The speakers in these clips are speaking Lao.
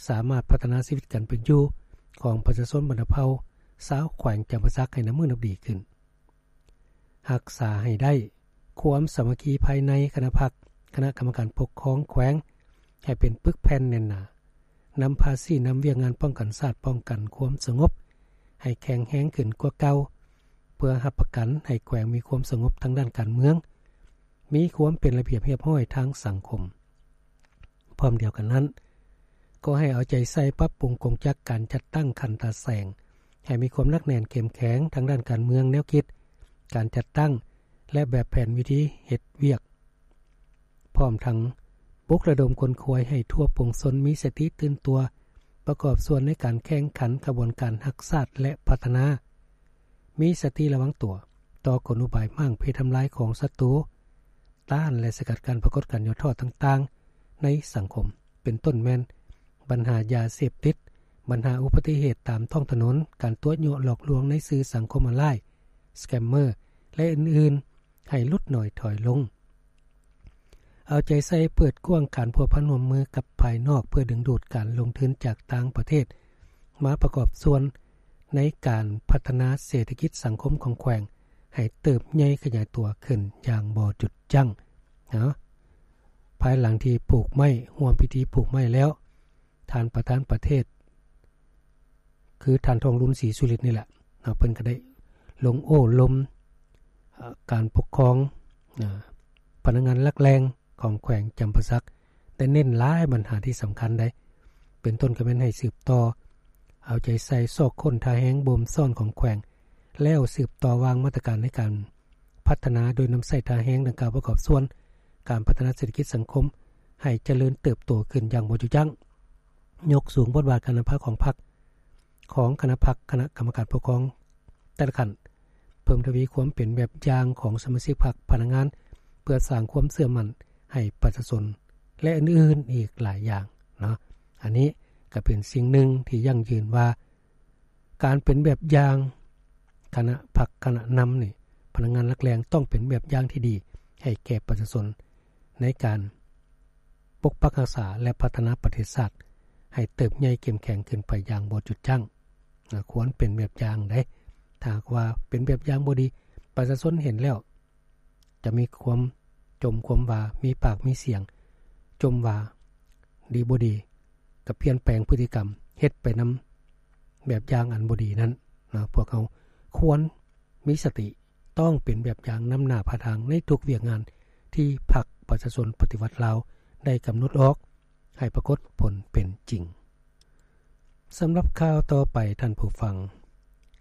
ສາມາດພັດທະນາຊີວິດການເປັນຢູ່ຂອງປະຊາຊົນບັນດາເຜົ່າຊາວແຂວງຈຳປາສັກໃຫ້ນັບມື້ນັບດີຂຶ້ນ. ຮັກສາໃຫ້ໄດ້ຄວາມສາມັກຄີພາຍໃນຄະນະພັກ, ຄະນະກຳມະການປົກຄອງແຂວງໃຫ້ເປັນປຶກແຜ່ນແໜ້ນໜາ, ນຳພາຊີ້ນຳວຽກງານປ້ອງກັນຊາດ, ປ້ອງກັນຄວາມສະຫງົບໃຫ້ແຂງແຮງຂຶ້ນກວ່າເກົ່າ, ເພື່ອຮັບປະກັນໃຫ້ແຂວງມີຄວາມສະຫງົບທາງດ້ານການເມືອງ, ມີຄວາມເປັນລະບຽບຮຽບຮ້ອຍທາງສັງຄົມ. ພ້ອມດຽວກັນນັ້ນ, ກໍໃຫ້ເອົາໃຈໃສ່ປັບປຸງກົງຈັກການຈັດຕັ້ງຂັ້ນຕາແສງ ໃຫ້ມີຄວາມໜັກແໜ້ນເຂັ້ມແຂງທາງດ້ານການເມືອງ, ແນວຄິດ, ການຈັດຕັ້ງ ແລະ ແບບແຜນວິທີເຮັດວຽກ, ພ້ອມທັງປຸກລະດົມຂົນຂວາຍໃຫ້ທົ່ວປວງຊົນມີສະຕິຕື່ນຕົວ, ປະກອບສ່ວນໃນການແຂ່ງຂັນຂະບວນການຮັກຊາດ ແລະ ພັດທະນາ, ມີສະຕິລະວັງຕົວຕໍ່ກົນອຸບາຍມ້າງເພທຳລາຍຂອງສັດຕູ, ຕ້ານ ແລະ ສະກັດກັ້ນປາກົດການຫຍໍ້ທໍ້ຕ່າງໆໃນສັງຄົມ, ເປັນຕົ້ນແມ່ນບັນຫາຢາເສບຕິດ, ບັນຫາອຸບັດຕິເຫດຕາມທ້ອງຖະໜົນ, ການຕົວະຍົວະຫຼອກລວງໃນສື່ສັງຄົມອອນລາຍ, ສະແກມເມີ ແລະ ອື່ນໆ ໃຫ້ຫຼຸດໜ້ອຍຖອຍລົງ. ເອົາໃຈໃສ່ເປີດກວ້າງການພົວພັນຮ່ວມມືກັບພາຍນອກ ເພື່ອດຶງດູດການລົງທຶນຈາກຕ່າງປະເທດ ມາປະກອບສ່ວນໃນການພັດທະນາເສດຖະກິດສັງຄົມຂອງແຂວງ ໃຫ້ເຕີບໃຫຍ່ຂະຫຍາຍຕົວຂຶ້ນຢ່າງບໍ່ຢຸດຢັ້ງ. ເນາະ, ພາຍຫຼັງທີ່ປູກໄມ້, ຮ່ວມພິທີປູກໄມ້ແລ້ວ, ທ່ານປະທານປະເທດ ຄືທ່ານທອງລຸນ ສີສຸລິດນີ້ແຫຼະເນາະ, ເພິ່ນກໍໄດ້ລົງໂອ້ລົມ ເອີ ການປົກຄອງ ເອີ ພະນັກງານຫຼັກແຫຼ່ງຂອງແຂວງຈຳປາສັກ ໄດ້ເນັ້ນຫຼາຍບັນຫາທີ່ສຳຄັນໃດ໋ ເປັນຕົ້ນກໍແມ່ນໃຫ້ສືບຕໍ່ເອົາໃຈໃສ່ຊອກຄົ້ນທ່າແຮງບົ່ມຊ້ອນຂອງແຂວງ ແລ້ວສືບຕໍ່ວາງມາດຕະການໃນການພັດທະນາ ໂດຍນຳໃຊ້ທ່າແຮງດັ່ງກ່າວປະກອບສ່ວນການພັດທະນາເສດຖະກິດສັງຄົມໃຫ້ຈະເລີນເຕີບໂຕຂຶ້ນຢ່າງບໍ່ຢຸດຢັ້ງ. ຍົກສູງບົດບາດການນຳພາຂອງພັກ, ຂອງຄະນະພັກ, ຄະນະກຳມະການປົກຄອງແຕ່ລະຂັ້ນ, ເພີ່ມທະວີຄວາມເປັນແບບຢ່າງຂອງສະມາຊິກພັກ, ພະນັກງານ, ເພື່ອສ້າງຄວາມເຊື່ອໝັ້ນໃຫ້ປະຊາຊົນ ແລະ ອື່ນໆອີກຫຼາຍຢ່າງເນາະ. ອັນນີ້ກໍເປັນສິ່ງໜຶ່ງທີ່ຢັ້ງຢືນວ່າ ການເປັນແບບຢ່າງຄະນະພັກ, ຄະນະນຳນີ້, ພະນັກງານຫຼັກແຫຼ່ງຕ້ອງເປັນແບບຢ່າງທີ່ດີໃຫ້ແກ່ປະຊາຊົນ ໃນການປົກປັກຮັກສາ ແລະ ພັດທະນາປະເທດຊາດໃຫ້ເຕີບໃຫຍ່ເຂັ້ມແຂງຂຶ້ນໄປຢ່າງບໍ່ຢຸດຢັ້ງ. ນະ, ຄວນເປັນແບບຢ່າງໃດ໋. ຖ້າຫາກວ່າເປັນແບບຢ່າງບໍ່ດີ, ປະຊາຊົນເຫັນແລ້ວຈະມີຄວາມຈົ່ມຄວາມວ່າ, ມີປາກມີສຽງຈົ່ມວ່າດີບໍ່ດີ, ກໍປ່ຽນແປງພຶດຕິກຳ, ເຮັດໄປນຳແບບຢ່າງອັນບໍ່ດີນັ້ນນະ. ພວກເຮົາຄວນມີສະຕິ, ຕ້ອງເປັນແບບຢ່າງນຳໜ້າພາທາງໃນທຸກວຽກງານທີ່ພັກປະຊາຊົນປະຕິວັດລາວໄດ້ກຳນົດອອກ ໃຫ້ປາກົດຜົນເປັນຈິງ. ສຳລັບຂ່າວຕໍ່ໄປທ່ານຜູ້ຟັງ,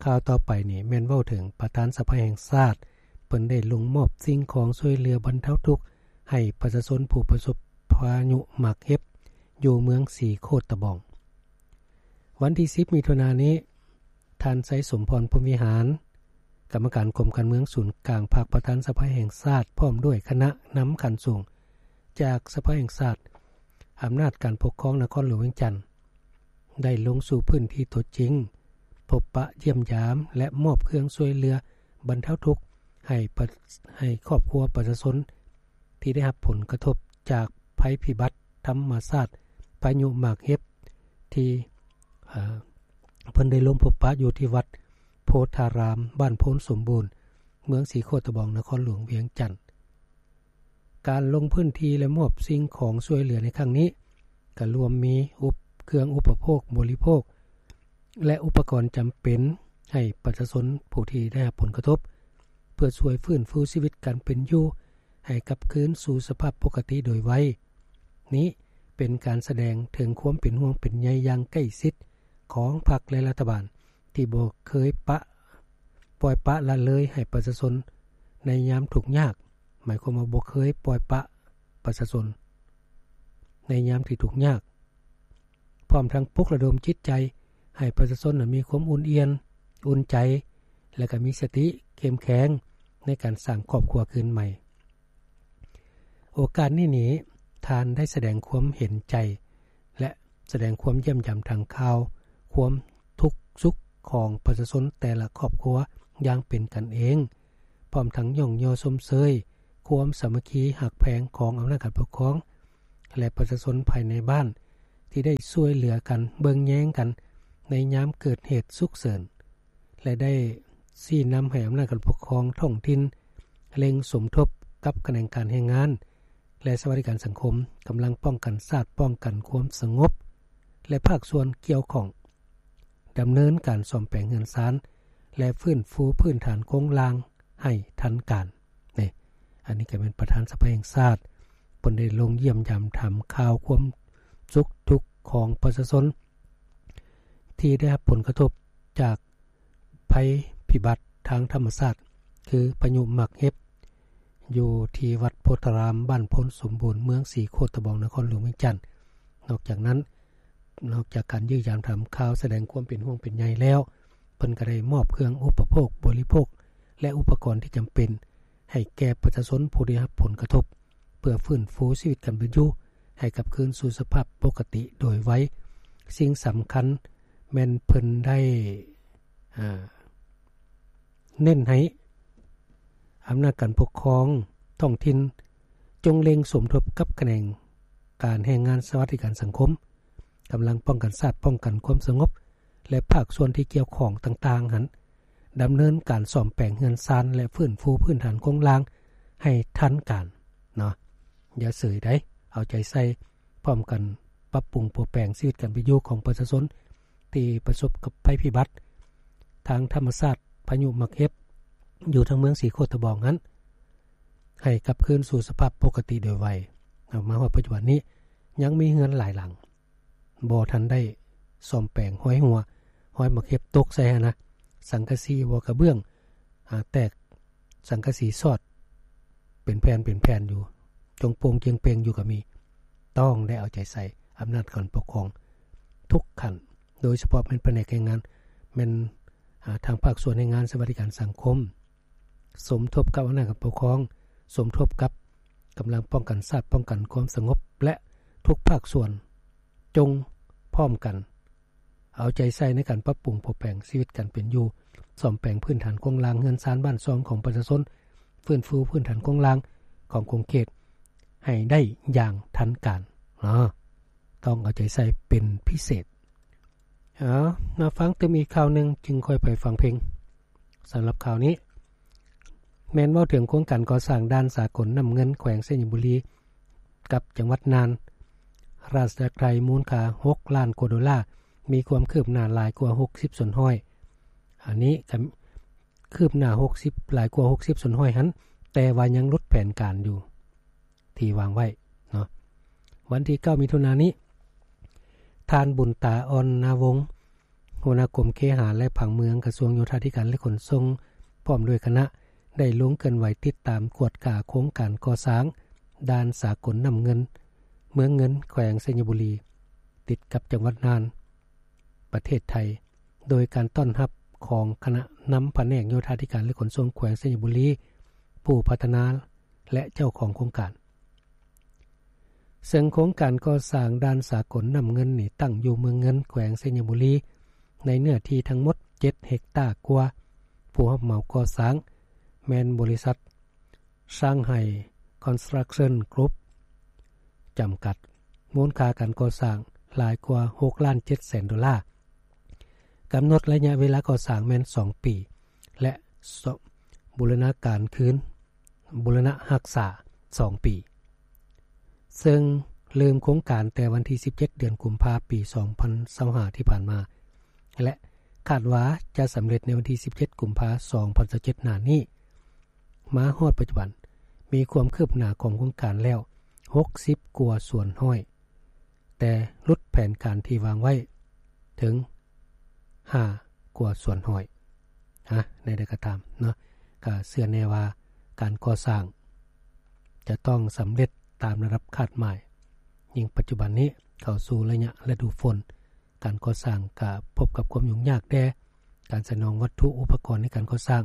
ຂ່າວຕໍ່ໄປນີ້ແມ່ນເວົ້າເຖິງປະທານສະພາແຫ່ງຊາດ ເພິ່ນໄດ້ລົງມອບສິ່ງຂອງຊ່ວຍເຫຼືອບັນເທົາທຸກໃຫ້ປະຊາຊົນຜູ້ປະສົບພາຍຸໝາກເຫັບ ຢູ່ເມືອງສີໂຄດຕະບອງ. ວັນທີສິບ ມິຖຸນານີ້, ທ່ານ ໄຊສົມພອນ ພົມວິຫານ ກຳມະການກົມການເມືອງສູນກາງພັກ ປະທານສະພາແຫ່ງຊາດ ພ້ອມດ້ວຍຄະນະນຳຂັ້ນສູງຈາກສະພາແຫ່ງຊາດ, ອຳນາດການປົກຄອງນະຄອນຫຼວງວຽງຈັນ ໄດ້ລົງສູ່ພື້ນທີ່ຕົວຈິງ, ພົບປະຢ້ຽມຢາມ ແລະ ມອບເຄື່ອງຊ່ວຍເຫຼືອບັນເທົາທຸກໃຫ້ປະ, ໃຫ້ຄອບຄົວປະຊາຊົນທີ່ໄດ້ຮັບຜົນກະທົບຈາກໄພພິບັດທຳມະຊາດ ພາຍຸໝາກເຫັບ ທີ່, ເອີ, ເພິ່ນໄດ້ລົງພົບປະຢູ່ທີ່ວັດໂພທາຣາມ ບ້ານໂພນສົມບູນ ເມືອງສີໂຄດຕະບອງ ນະຄອນຫຼວງວຽງຈັນ. ການລົງພື້ນທີ່ ແລະ ມອບສິ່ງຂອງຊ່ວຍເຫຼືອໃນຄັ້ງນີ້ ກໍລວມມີອຸບ, ເຄື່ອງອຸປະໂພກບໍລິໂພກ ແລະ ອຸປະກອນຈຳເປັນໃຫ້ປະຊາຊົນຜູ້ທີ່ໄດ້ຮັບຜົນກະທົບ ເພື່ອຊ່ວຍຟື້ນຟູຊີວິດການເປັນຢູ່ໃຫ້ກັບຄືນສູ່ສະພາບປົກກະຕິໂດຍໄວ. ນີ້ເປັນການສະແດງເຖິງຄວາມເປັນຫ່ວງເປັນໃຍຢ່າງໃກ້ຊິດຂອງພັກ ແລະ ລັດຖະບານ ທີ່ບໍ່ເຄີຍປະ, ປ່ອຍປະລະເລີຍໃຫ້ປະຊາຊົນໃນຍາມທຸກຍາກ, ໝາຍຄວາມວ່າບໍ່ເຄີຍປ່ອຍປະປະຊາຊົນໃນຍາມທີ່ທຸກຍາກ, ພ້ອມທັງປຸກລະດົມຈິດໃຈໃຫ້ປະຊາຊົນນັ້ນມີຄວາມອຸ່ນອຽນ, ອຸ່ນໃຈ ແລະ ກໍມີສະຕິເຂັ້ມແຂງໃນການສ້າງຄອບຄົວຄືນໃໝ່. ໂອກາດນີ້ນີ້ ທ່ານໄດ້ສະແດງຄວາມເຫັນໃຈ ແລະ ສະແດງຄວາມຢ້ຽມຢາມທາງຂ່າວຄວາມທຸກສຸກຂອງປະຊາຊົນແຕ່ລະຄອບຄົວຢ່າງເປັນກັນເອງ, ພ້ອມທັງຍ້ອງຍໍຊົມເຊີຍຄວາມສາມັກຄີຮັກແພງຂອງອຳນາດການປົກຄອງ ແລະ ປະຊາຊົນພາຍໃນບ້ານ ທີ່ໄດ້ຊ່ວຍເຫຼືອກັນເບິ່ງແຍງກັນໃນຍາມເກີດເຫດສຸກເສີນ ແລະ ໄດ້ຊີ້ນຳໃຫ້ອຳນາດການປົກຄອງທ້ອງຖິ່ນເລັ່ງສົມທົບກັບຂະແໜງການແຮງງານ ແລະ ສະຫວັດດີການສັງຄົມ, ກຳລັງປ້ອງກັນຊາດ, ປ້ອງກັນຄວາມສະຫງົບ ແລະ ພາກສ່ວນກ່ຽວຂ້ອງ ດຳເນີນການສ້ອມແປງເຮືອນຊານ ແລະ ຟື້ນຟູພື້ນຖານໂຄງລ່າງໃຫ້ທັນການ. ນີ້ ອັນນີ້ກໍແມ່ນປະທານສະພາແຫ່ງຊາດ ເພິ່ນໄດ້ລົງຢ້ຽມຢາມຖາມຂ່າວຄວາມສຸກທຸກຂອງປະຊາຊົນ ທີ່ໄດ້ຮັບຜົນກະທົບຈາກໄພພິບັດທາງທຳມະຊາດ ຄືພາຍຸໝາກເຫັບ ຢູ່ທີ່ວັດໂພທາລາມ ບ້ານໂພນສົມບູນ ເມືອງສີໂຄດຕະບອງ ນະຄອນຫຼວງວຽງຈັນ. ນອກຈາກນັ້ນ, ນອກຈາກການຢ້ຽມຢາມຖາມຂ່າວ ສະແດງຄວາມເປັນຫ່ວງເປັນໃຍແລ້ວ, ເພິ່ນກໍໄດ້ມອບເຄື່ອງອຸປະໂພກບໍລິໂພກ ແລະ ອຸປະກອນທີ່ຈຳເປັນ ໃຫ້ແກ່ປະຊາຊົນຜູ້ໄດ້ຮັບຜົນກະທົບ ເພື່ອຟື້ນຟູຊີວິດການເປັນຢູ່ໃຫ້ກັບຄືນສູ່ສະພາບປົກກະຕິໂດຍໄວ. ສິ່ງສຳຄັນແມ່ນເພິ່ນໄດ້ ອາ ເນັ້ນໃຫ້ອຳນາດການປົກຄອງທ້ອງຖິ່ນ ຈົ່ງເລັ່ງສົມທົບກັບຂະແໜງການແຮງງານ ສະຫວັດດີການສັງຄົມ, ກຳລັງປ້ອງກັນຊາດ, ປ້ອງກັນຄວາມສະຫງົບ ແລະ ພາກສ່ວນທີ່ກ່ຽວຂ້ອງຕ່າງໆຫັ້ນ ດຳເນີນການສ້ອມແປງເຮືອນຊານ ແລະ ຟື້ນຟູພື້ນຖານໂຄງລ່າງໃຫ້ທັນການເນາະ. ຢ່າເສີຍໃດ໋, ເອົາໃຈໃສ່ ພ້ອມກັນປັບປຸງປົວແປງຊີວິດການເປັນຢູ່ຂອງປະຊາຊົນ ທີ່ປະສົບກັບໄພພິບັດທາງທຳມະຊາດ ພາຍຸໝາກເຫັບ ຢູ່ທາງເມືອງສີໂຄດຕະບອງຫັ້ນ ໃຫ້ກັບຄືນສູ່ສະພາບປົກກະຕິໂດຍໄວ. ເອົາມາຮອດປັດຈຸບັນນີ້ ຍັງມີເຮືອນຫຼາຍຫຼັງ ບໍ່ທັນໄດ້ສ້ອມແປງ, ຮອຍຮົ່ວ, ຮອຍໝາກເຫັບຕົກໃສ່ຫັ້ນນະ, ສັງກະສີບໍ່ກະເບື້ອງ ອາ ແຕກ, ສັງກະສີຊອດເປັນແຜ່ນເປັນແຜ່ນຢູ່, ຈົ່ງໂປ່ງຈຽງເປ່ງຢູ່ກໍມີ. ຕ້ອງໄດ້ເອົາໃຈໃສ່ອຳນາດການປົກຄອງທຸກຂັ້ນ, ໂດຍສະເພາະແມ່ນພະແນກແຮງງານ, ແມ່ນ ອາ ທາງພາກສ່ວນແຮງງານ, ສະຫວັດດີການສັງຄົມ, ສົມທົບກັບອຳນາດການປົກຄອງ, ສົມທົບກັບກຳລັງປ້ອງກັນຊາດ, ປ້ອງກັນຄວາມສະຫງົບ ແລະ ທຸກພາກສ່ວນ ຈົ່ງພ້ອມກັນເອົາໃຈໃສ່ໃນການປັບປຸງປົວແປງຊີວິດການເປັນຢູ່, ສ້ອມແປງພື້ນຖານໂຄງລ່າງເຮືອນຊານບ້ານຊ່ອງຂອງປະຊາຊົນ, ຟື້ນຟູພື້ນຖານໂຄງລ່າງຂອງຂົງເຂດໃຫ້ໄດ້ຢ່າງທັນການເນາະ. ຕ້ອງເອົາໃຈໃສ່ເປັນພິເສດ. ເອົາ ມາຟັງຕື່ມອີກຂ່າວໜຶ່ງ ຈຶ່ງຄ່ອຍໄປຟັງເພງ. ສຳລັບຂ່າວນີ້ ແມ່ນເວົ້າເຖິງໂຄງການກໍ່ສ້າງດ່ານສາກົນນ້ຳເງິນ ແຂວງໄຊຍະບູລີ ກັບຈັງຫວັດນ່ານ ລາຊະອານາຈັກໄທ ມູນຄ່າຫົກລ້ານກວ່າໂດລາ, ມີຄວາມຄືບໜ້າຫຼາຍກວ່າຫົກສິບສ່ວນຮ້ອຍ. ອັນນີ້ກໍຄືບໜ້າຫົກສິບ, ຫຼາຍກວ່າຫົກສິບສ່ວນຮ້ອຍຫັ້ນ, ແຕ່ວ່າຍັງຫຼຸດແຜນການຢູ່ ທີ່ວາງໄວ້ເນາະ. ວັນທີເກົ້າ ມິຖຸນານີ້, ທ່ານ ບຸນຕາ ອ່ອນນາວົງ ຫົວໜ້າກົມເຄຫະ ແລະ ຜັງເມືອງ ກະຊວງໂຍທາທິການ ແລະ ຂົນສົ່ງ ພ້ອມດ້ວຍຄະນະ ໄດ້ລົງເຄື່ອນໄຫວຕິດຕາມກວດກາໂຄງການກໍ່ສ້າງດ່ານສາກົນນ້ຳເງິນ ເມືອງເງິນ ແຂວງໄຊຍະບູລີ ຕິດກັບຈັງຫວັດນ່ານ ປະເທດໄທ ໂດຍການຕ້ອນຮັບຂອງຄະນະນຳພະແນກໂຍທາທິການ ແລະ ຂົນສົ່ງ ແຂວງໄຊຍະບູລີ, ຜູ້ພັດທະນາ ແລະ ເຈົ້າຂອງໂຄງການ. ເຊິ່ງໂຄງການກໍ່ສ້າງດ່ານສາກົນນ້ຳເງິນນີ້ ຕັ້ງຢູ່ເມືອງເງິນ ແຂວງໄຊຍະບູລີ ໃນເນື້ອທີ່ທັງໝົດເຈັດເຮັກຕາກວ່າ. ຜູ້ຮັບເໝົາກໍ່ສ້າງແມ່ນບໍລິສັດ ຊາງໄຮ ຄອນສະຕຣັກເຊິນ ກຣຸບ ຈຳກັດ, ມູນຄ່າການກໍ່ສ້າງຫຼາຍກວ່າຫົກລ້ານເຈັດແສນໂດລາ, ກຳນົດໄລຍະເວລາກໍ່ສ້າງແມ່ນສອງປີ ແລະ ສະ ບູລະນະການຄືນ ບູລະນະຮັກສາສອງປີ, ເຊິ່ງເລີ່ມໂຄງການແຕ່ວັນທີສິບເຈັດ ເດືອນກຸມພາ ປີສອງພັນຊາວຫ້າ ທີ່ຜ່ານມາ ແລະ ຄາດວ່າຈະສຳເລັດໃນວັນທີສິບເຈັດ ກຸມພາ ສອງພັນຊາວເຈັດ ໜ້ານີ້. ມາຮອດປັດຈຸບັນ ມີຄວາມຄືບໜ້າຂອງໂຄງການແລ້ວຫົກສິບກວ່າສ່ວນຮ້ອຍ, ແຕ່ຫຼຸດແຜນການທີ່ວາງໄວ້ເຖິງຫ້າກວ່າສ່ວນຮ້ອຍ. ຮະ ແນວໃດກໍຕາມເນາະ, ກໍເຊື່ອແນ່ວ່າການກໍ່ສ້າງຈະຕ້ອງສຳເລັດຕາມລະດັບຄາດໝາຍ. ຍິ່ງປັດຈຸບັນນີ້ເຂົ້າສູ່ໄລຍະລະດູຝົນ, ການກໍ່ສ້າງກະພົບກັບຄວາມຫຍຸ້ງຍາກແດ່, ການສະໜອງວັດຖຸອຸປະກອນໃນການກໍ່ສ້າງ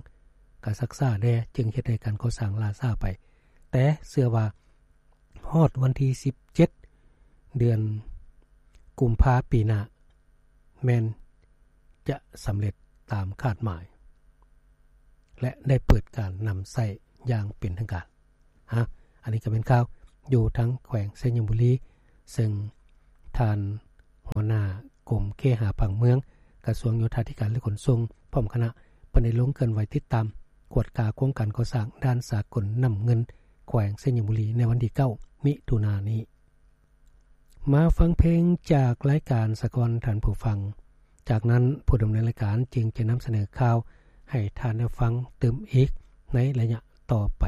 ກະຊັກຊ້າແດ່, ຈຶ່ງເຮັດໃຫ້ການກໍ່ສ້າງລ່າຊ້າໄປ. ແຕ່ເຊື່ອວ່າຮອດວັນທີສິບເຈັດ ເດືອນກຸມພາປີໜ້າ ແມ່ນຈະສຳເລັດຕາມຄາດໝາຍ ແລະ ໄດ້ເປີດການນຳໃຊ້ຢ່າງເປັນທາງການ. ຮະ ອັນນີ້ກໍເປັນຂ່າວຢູ່ທາງແຂວງໄຊຍະບູລີ, ເຊິ່ງທ່ານ ຫົວໜ້າກົມເຄຫະຜັງເມືອງ ກະຊວງໂຍທາທິການ ແລະ ຂົນສົ່ງ ພ້ອມຄະນະ ເພິ່ນໄດ້ລົງເຄື່ອນໄຫວຕິດຕາມ ກວດກາໂຄງການກໍ່ສ້າງດ່ານສາກົນນ້ຳເງິນ ແຂວງໄຊຍະບູລີ ໃນວັນທີ ເກົ້າ ມິຖຸນານີ້. ມາຟັງເພງຈາກລາຍການສາກ່ອນທ່ານຜູ້ຟັງ. ຈາກນັ້ນ ຜູ້ດຳເນີນລາຍການຈຶ່ງຈະນຳສະເໜີຂ່າວໃຫ້ທ່ານໄດ້ຟັງຕື່ມອີກໃນໄລຍະຕໍ່ໄປ.